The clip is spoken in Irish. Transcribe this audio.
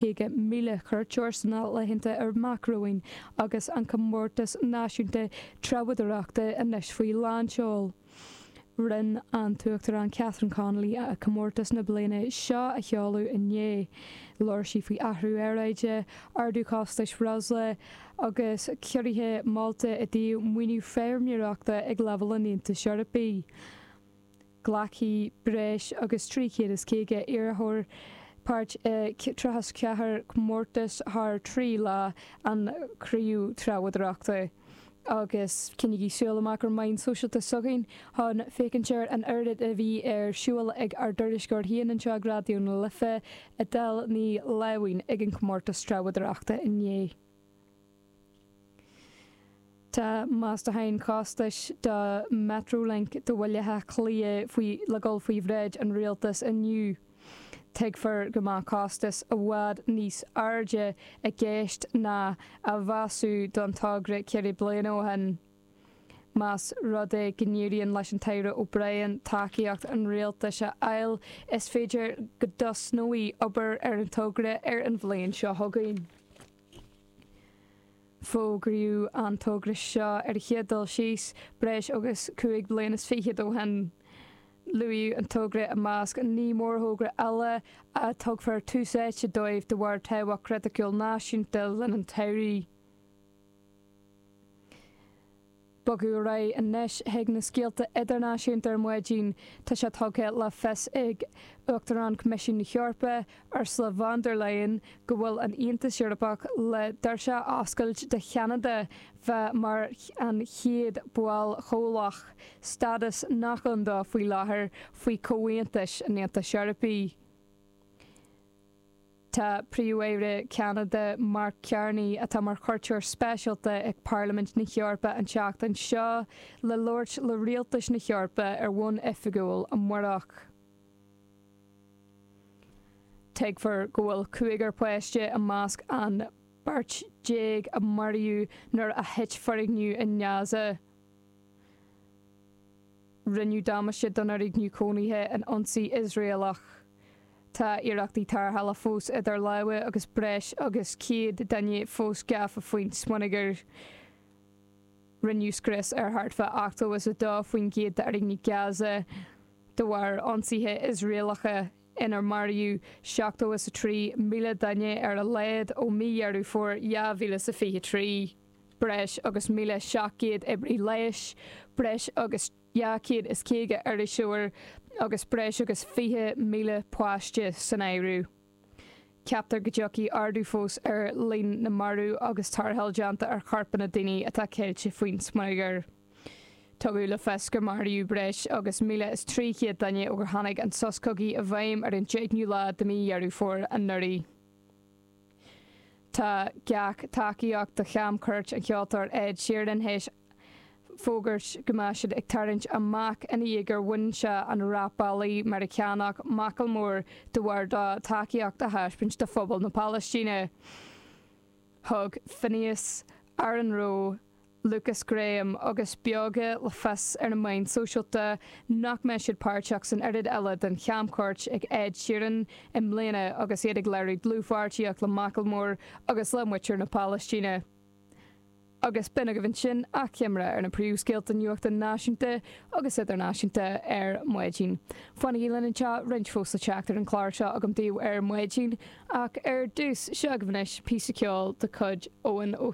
50,000 cuairteoir sna laethanta amach romhainn agus an Comórtas Náisiúnta Treabhdóireachta anois faoi lánseol. Rinne an tUachtarán Catherine Connolly comórtas na bliana seo a sheoladh inné. Labhair sí faoi athrú aeráide, ardú costais breosla agus ciorruithe molta i dtaobh maoiniú feirmeoireachta ag leibhéal an Aontais Eorpaigh. Glacfaidh breis agus 350 iarrthóir páirt i 34 comórtas thar 3 lá an Chraobh Treabhdóireachta. Agus coinnígí súil amach ar meáin sóisialta s'againn chun féachaint ar an oiread a bhí ar siúl ag ár dtuairisceoir féin anseo ag Raidió na Life, Edel Ní Láimhín ag an chomórtas treabhdóireachta inné. Tá meastacháin costais do Metrolink do Bhaile Átha Cliath faoi le dul faoi bhráid an Rialtais inniu. Tuigfear go mbeadh costas i bhfad níos airde i gceist ná a mheasadh don togra ceithre bliana ó shin. Más rud é go n-éiríonn leis an tAire O'Brien tacaíocht an Rialtais a fháil, is féidir go dtosnóidh obair ar an togra ar an bhliain seo chugainn. Fógraíodh an togra seo ar a chéad dul síos breis agus 25 bliain ó shin. Luaíodh an togra i measc 9 mórthogra eile a dtugfar tús áite dóibh de bharr tábhacht chriticiúil náisiúnta le linn an tsamhraidh. Bogadh ar aghaidh anois chuig na scéalta idirnáisiúnta ar maidin. Tá sé tugtha le fios ag Uachtarán Choimisiún na hEorpa, Ursula von der Leyen, go bhfuil an Aontas Eorpach le doirse a oscailt do Cheanada bheith mar an chéad bhall chomhlach, stádas nach ann dó faoi láthair faoi chomhaontais an Aontais Eorpaigh. Tá Príomh-Aire Cheanada Mark Carney, atá mar chuairteoir speisialta ag Parlaimint na hEorpa an tseachtain seo, le labhairt le rialtais na hEorpa ar bhonn oifigiúil amárach. Tuigfear go bhfuil cúigear páiste i measc an 14 a maraíodh nuair a thit foirgneamh i nGaza. Rinneadh damáiste don fhoirgneamh cónaithe in ionsaí Iosraelach. Tá iarrachtaí tarrthála fós idir lámha agus breis agus 100 duine fós gafa faoin smionagar. Rinneadh scrios ar thart fá 82% d'fhoirgnimh Gaza de bharr ionsaithe Iosraelacha inar maraíodh 73,000 duine ar a laghad ó mhí Dheireadh Fómhair 2023. Breis agus 1,700 oibrí leighis, breis agus 250 iriseoir agus breis agus 20,000 páiste san áireamh. Ceaptar go dtiocfaidh ardú fós ar líon na marbh agus tarrtháil déanta ar chorpanna daoine atá ceilte faoin smionagar. Tugadh le fios gur maraíodh breis agus 1,300 duine ó gur tháinig an sos cogaidh i bhfeidhm ar an 10ú lá de mhí Dheireadh Fómhair anuraidh. Tá gach tacaíocht do chamchuairt an cheoltóir Ed Sheeran théis fógairt go mbeidh siad ag tarraingt amach ina dhiaidh gur bhain sé an rapálaí Meiriceánach Macklemore de bharr dó tacaíocht a thaispeáint do phobal na Palaistíne. Thug Finneas, Aaron Rowe, Lukas Graham agus Beoga le fios ar na meáin sóisialta nach mbeidh siad páirteach san oiread eile den chamchuairt ag Ed Sheeran i mbliana agus iad ag léiriú dlúthpháirtíocht le Macklemore agus le muintir na Palaistíne. Agus b'in agaibh ansin achoimre ar na príomhscéalta nuachta náisiúnta agus idirnáisiúnta ar maidin. Fanaigí linn anseo, roinnt fós le teacht ar an chlár seo agam daoibh ar maidin, ach ar dtús, seo agaibh anois píosa ceoil de chuid Eoin Ó.